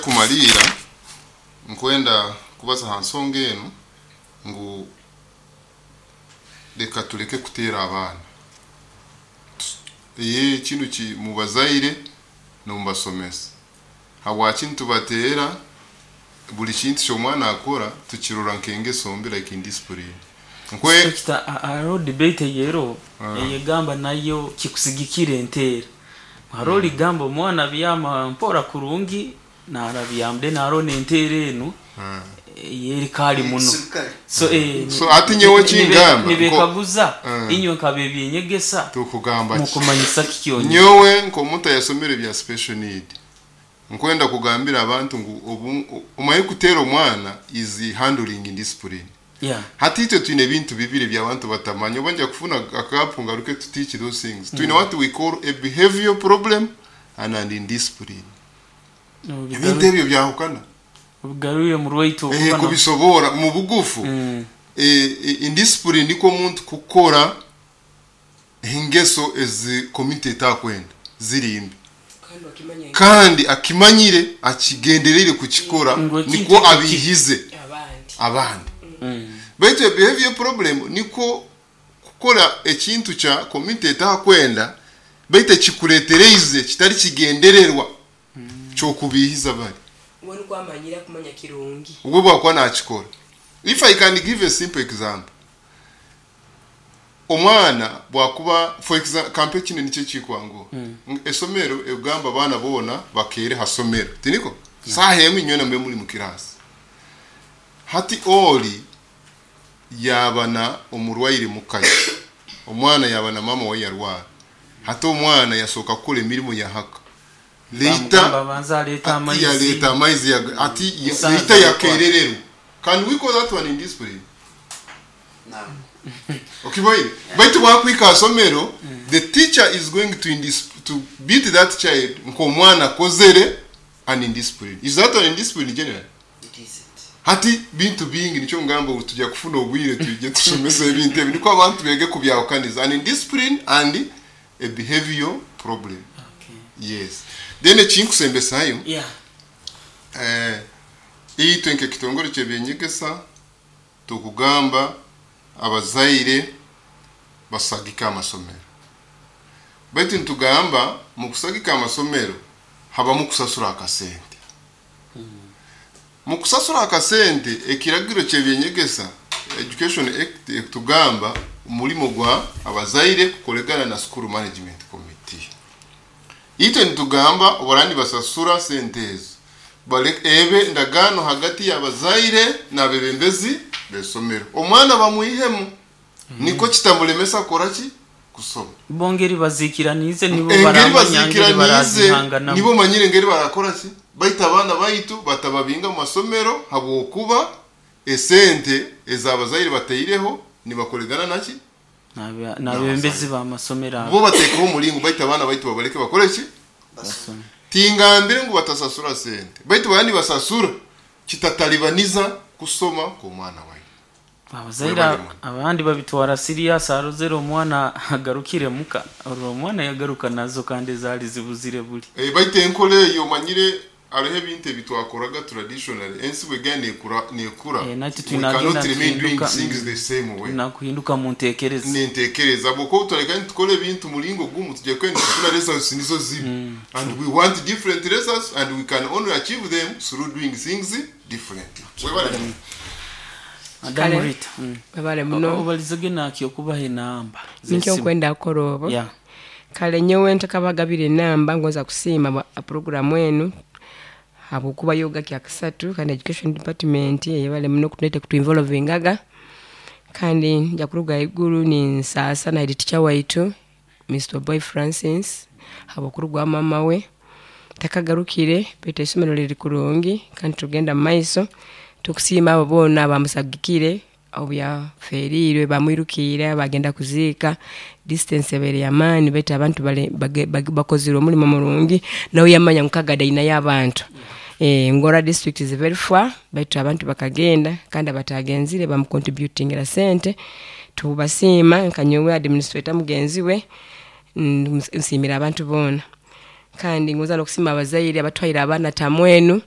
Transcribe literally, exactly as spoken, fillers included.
Kumalira nkwenda kubaza ha nsonga enu ngu leka tuleke kuteera abaana. Ye kinu ki mubazaire nomubasomesa, habwaki nitubateera? Buli kintu kyomwana akora tukirora nk'engeso mbi, like indiscipline nkwe. Inspector, hariho debate eyero eyegamba nayo kikusigikira enteera. Hariho ligamba omwana byama mpora kurungi narabyama, then hariho n'enteera enu eyerikali muno. So eh, So, ati nyowe nibe- kingamba, nibekaguza Mm. inywe nkabebyenyegesa tukugamba ki? Mukumanyisa kikyonye? Nyowe nk'omuntu ayasomere bya special need, nkwenda kugambira abantu ngu obu- omaye kuteera omwana is handling indiscipline. Yeah hati itwe twine ebintu bibiri by'abantu batamanya. Oba nja kufuna akapu ngaruke to teach those things. Twine what we call a behavior problem and an indiscipline. Ebintu ebyo byahukana. Obigarurire mu rwaitu. Eh, okuba na- kubisobora mu bugufu. Mm. eh, eh, indiscipline niko omuntu kukora engeso ezi community etakwenda, ziri mbi. Kandi wakimanya. Kandi akimanyire, akigendereire kukikora. Ngo ekintu niko ekyo ki- abihize abandi. Abandi. Mm. Baitu behavior problem niko kukora ekintu kya community etakwenda, baitu ekikuletereize kitari kigendererwa kyokubihiza bali. We niko amanyire kumanya kirungi. Ubwo bwakuba nakikora. If I can give a simple example, omwana bwakuba, for example, kampe kino nikyo kikwanguha. mm. Esomero egamba abaana boona bakeere ha somero, tiniko saha emwe, inywena mube muri mu kirasi. Hati oli yabana omurwaire mukayi, omwana yaba na mama we yarwara. Hati omwana yasooka kukora emirimu yahaka leita. Bamugamba banza aleeta ati amaizi. Yaleeta amaizi yaga- ati ya- Musanze leita yakwa. Yakerererwa. Can we call that one indiscipline? No. Okiboire, baitu bwakwika asomero, the teacher is going to, indis to beat that child nk'omwana akozere an indiscipline. Is that an indiscipline generally? It isn't. Hati bintu bingi, nicyo ngamba ubu tujya kufuna obwire tujye tusomesa ebintu ebi niko abantu bege kubyahukaniza an indiscipline and a behavior problem. Okay. Yes, then ekinkusembesayo, Yeah. eh, itwe nk'ekitongore ky'ebyenyegesa tukugamba abazaire basagike amasomero, baitu nitugamba mu kusagika amasomero habamu kusasura akasente. Mu kusasura akasente, ekiragiro ky'ebyenyegesa, Education Act, ekutugamba omulimo gwa abazaire kukolegana na school management committee. Itwe nitugamba obarani basasura sente ezo, Bale- ebe ndagano hagati y'abazaire n'abebembezi b'esomero, omwana bamwihemu niko kitamulemesa kora ki? Kusoma. Bo ngeri bazikiranize nibo Engeri baramanya ngeri bazikiranize barazihanganamu. Nibo manyire engeri barakora ki. Baita abaana baitu batababinga mu masomero habwokuba esente ez'abazaire bateireho nibakolegana naki? N'abe- n'abebembezi b'amasomero abo. Bo bateekaho omulingo, baita abaana baitu babaleke bakore ki? Basome. Tingambire ngu batasasura sente, baitu bandi basasura kitatalibaniza kusoma kw'omwana waitu. Abazaire Webale muno. abandi babitwara serious. Arozere omwana agarukire muka, olwo omwana yagaruka nazo kandi zaali zibuzire buli. Eh, baitu enkola eyo omanyire hariho ebintu ebitwakoraga traditionally, ensi bwegenda nekura nekura. Eh, natwe We tunagenda cannot remain doing tuhinduka, things mm. the same way. Nakuhinduka mu ntekereza. Nintekereza bwokuba tureka nitukora ebintu muringo gumu, tujya kwenda tufuna results nizo zimwe, and we want different results, and we can only achieve them through doing things differently. Webale. Madamu Kale. Rita, mm. Webale muno. Obalizege nakyo okubaha enamba Nikyo z'essimu. nkwenda kukora obo. Yeah. Kale nyowe ntakabagabira enamba, ngonza kusiima bwa puroguramu enu habwokuba yoga kyakasatu, kandi education department eyebale muno kutuleeta kutuinvolvingaga. Kandi nja kuruga iguru ninsaasa na head teacher waitu Mister Boy Francis habwokurugwa mama we takagarukire, baitu isomero liri kurungi kandi tugenda mumaiso. Tukusiima abo boona abamusagikire obu yaferiirwe, bamwirukiire bagenda kuziika. Distance ebaire yamaani, baitu abantu bale- bage- bage- bakozire omulimo murungi, nawe yamanya ngu Kagadi ainayo abantu. Eh, ngora district is very far, baitu abantu bakagenda, kandi abatagenzire bamucontributingira sente. Tubasiima. Nkanyowe administrator mugenzi we, mm, nsiimira abantu boona, kandi ngoza n'okusiima abazaire abatwaire abaana tamwenu.